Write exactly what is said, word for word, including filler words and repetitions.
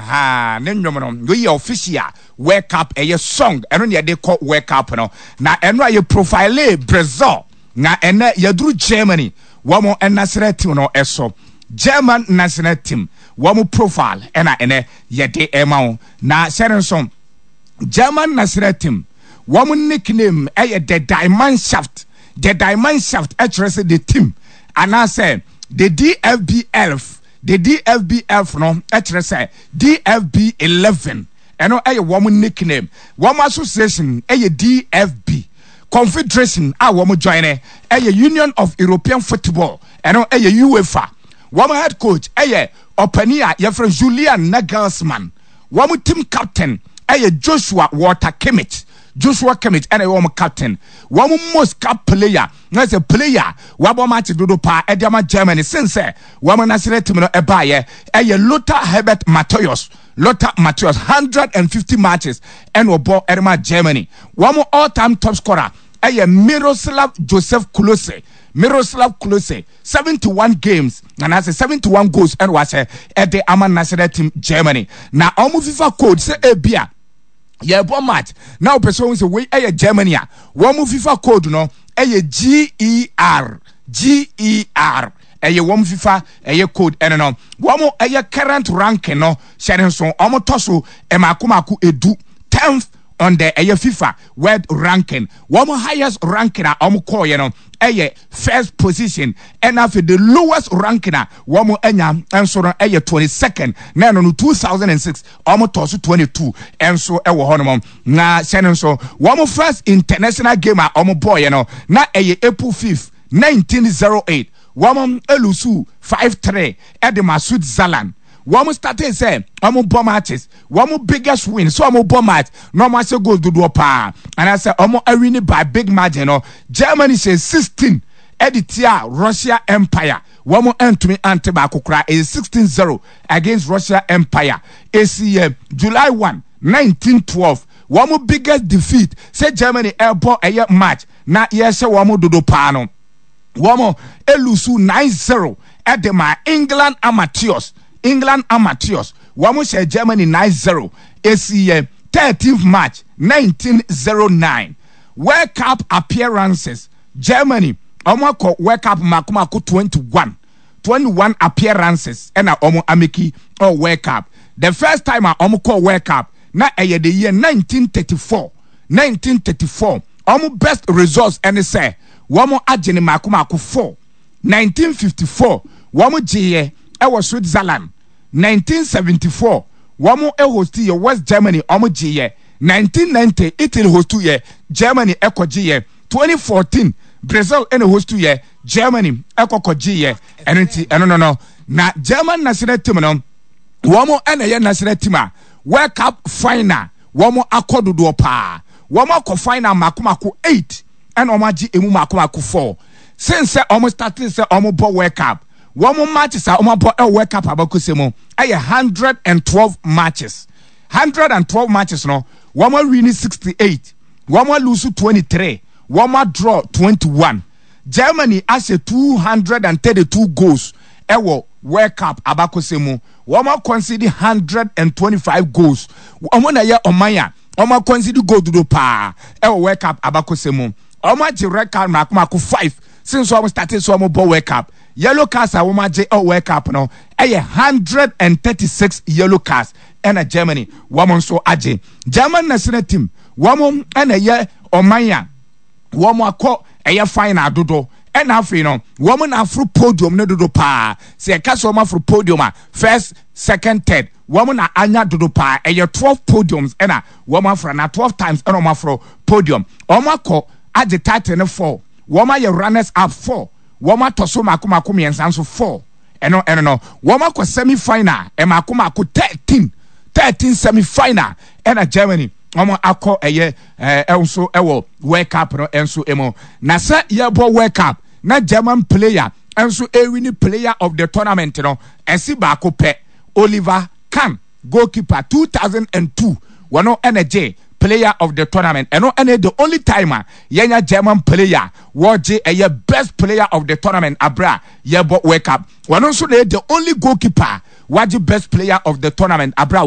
Aha, ne nnwom no wei yɛ official World Cup ɛyɛ song. Ɛno ne yɛde kɔ World Cup no, na ɛno a yɛ profile Brazil, na ɛnɛ yɛduru Germany wɔn national team no ɛso. German national team wɔn profile ɛna ɛnɛ yɛde ɛma wo. Na hyɛne nso, German national team wɔn nickname ɛyɛ the Die Mannschaft. The Die Mannschaft ɛkyerɛ sɛ the team anaasɛ the D F B elf. The D F B elf no ɛkyerɛ sɛ D F B eleven. Ɛno ɛyɛ wɔn nickname. Wɔn association ɛyɛ D F B. Confederation a wɔn join ɛyɛ Union of European Football, ɛno ɛyɛ UEFA. Wɔn head coach ɛyɛ ɔpanin a yɛfrɛ Julian Nagelsmann. Wɔn team captain ɛyɛ Joshua Walter Kimmich. Joshua Kimmich ɛna ɛyɛ wɔn captain. Wɔn most cap player na sɛ player wabɔ match dodo paa ɛde ama Germany since sɛ wɔn national team no ɛbaayɛ ɛyɛ Lothar Herbert Matthäus. Lothar Matthäus, hundred and fifty matches ɛna ɔbɔ ɛde ma Germany. Wɔn all time top scorer ɛyɛ Miroslav Josef Klose. Miroslav Klose, seventy one games anaasɛ seventy one goals ɛna wahyɛ ɛde ama national team Germany. Na wɔn FIFA code, sɛ ebia yɛbɔ match na wopɛ sɛ wɔn sɛ wei ɛyɛ Germany a, wɔn FIFA code no ɛyɛ G E R. G E R ɛyɛ wɔn FIFA ɛyɛ code. Ɛno no wɔn ɛyɛ current ranking no, hyɛ ne nso, wɔn tɔ so ɛmaako maako edu, tenth on the ɛyɛ FIFA world ranking. Wɔn highest ranking a wɔn kɔɔyɛ no ɛyɛ first position, ɛna afei the lowest ranking a wɔn anya nso no ɛyɛ twenty second, na ɛno no two thousand and six wɔn tɔ so twenty two nso ɛwɔ hɔnom. Na hyɛ no nso, wɔn first international game a wɔn bɔɔyɛ no na ɛyɛ April fifth nineteen zero eight. Wɔn e lose five three ɛde ma Switzerland. Wɔn started sɛ wɔn bɔ matches, wɔn biggest win so wɔn bɔ match na wɔn ahyɛ goals dodoɔ paa anaasɛ wɔn a win by big margin no, Germany hyɛ sixteen ɛde tia Russia Empire. Wɔn ntumi ante baako koraa. Ɛyɛ sixteen zero against Russia Empire. Esi yɛ July one nineteen twelve. Wɔn biggest defeat sɛ Germany ɛbɔ ɛyɛ match na yɛhyɛ wɔn dodo paa no, wɔn e lose nine zero ɛde ma England amateurs. England amateurs, wɔn hyɛ Germany nine zero. Esi yɛ thirteenth March nineteen zero nine. World Cup appearances, Germany wɔn akɔ World Cup mako mako twenty one. Twenty one appearances ɛna wɔn a make ɔ World Cup. The first time a wɔn kɔ World Cup na ɛyɛ the year nineteen thirty four. nineteen thirty four, wɔn best results ɛne sɛ wɔn agye ne mako mako four. nineteen fifty four, wɔn gyeeɛ ɛwɔ Switzerland. nineteen seventy four, wɔn host yɛ West Germany, wɔn gyeeɛ. nineteen ninety, Italy host yɛ, Germany ɛkɔ gyeeɛ. twenty fourteen, Brazil ɛna host yɛ, Germany ɛkɔkɔ gyeeɛ. Ɛno nti ɛno no no na German national team no, wɔn ɛna ɛyɛ national team a World Cup final wɔn akɔ dodoɔ paa. Wɔn akɔ final mako mako eight, ɛna wɔn agye emu mako mako four. Since sɛ wɔn starting sɛ wɔn bɔ World Cup, wɔn matches a wɔn abɔ ɛwɔ World Cup abakɔsɛ mu ɛyɛ hundred and twelve matches. Hundred and twelve matches no, wɔn a win sixty eight, wɔn a lose twenty three, wɔn a draw twenty one. Germany ahyɛ two hundred and thirty two goals ɛwɔ World Cup abakɔsɛ mu. Wɔn a concede hundred and twenty five goals. Wɔn na yɛ ɔman a wɔn a concede goal dodo paa ɛwɔ World Cup abakɔsɛ mu. Wɔn agye red card mako mako five since wɔn started so wɔn bɔ World Cup. Yellow cards a wɔn agye ɛwɔ World Cup no ɛyɛ hundred and thirty six yellow cards ɛna Germany wɔn nso agye. German national team, wɔn ɛna ɛyɛ ɔman a wɔn akɔ ɛyɛ final dodo, ɛna afei no wɔn na aforo podium no dodo paa. Sɛ yɛka sɛ wɔn aforo podium a, first, second, third, wɔn na anya dodo paa. Ɛyɛ twelve podiums ɛna wɔn aforo na twelve times ɛna wɔn aforo podium. Wɔn akɔ agye title no four, wɔn ayɛ runners up four, wɔn atɔ so mako mako mmiɛnsa nso four. Ɛno ɛno no wɔn akɔ semi final ɛmako mako thirteen. Thirteen semi final ɛna Germany wɔn akɔ ɛyɛ ɛɛ ɛnso ɛwɔ World Cup no ɛnso ɛmu. Na sɛ yɛbɔ World Cup na German player ɛnso e win player of the tournament no, ɛsi baako pɛ, Oliver Kahn, goalkeeper, two thousand and two, wɔn ɛna gye player of the tournament. Ɛno ɛna the only time a yɛnya German player wɔgye ɛyɛ best player of the tournament abira yɛbɔ World Cup. Wɔn nso na yɛ the only goalkeeper wagye best player of the tournament abira.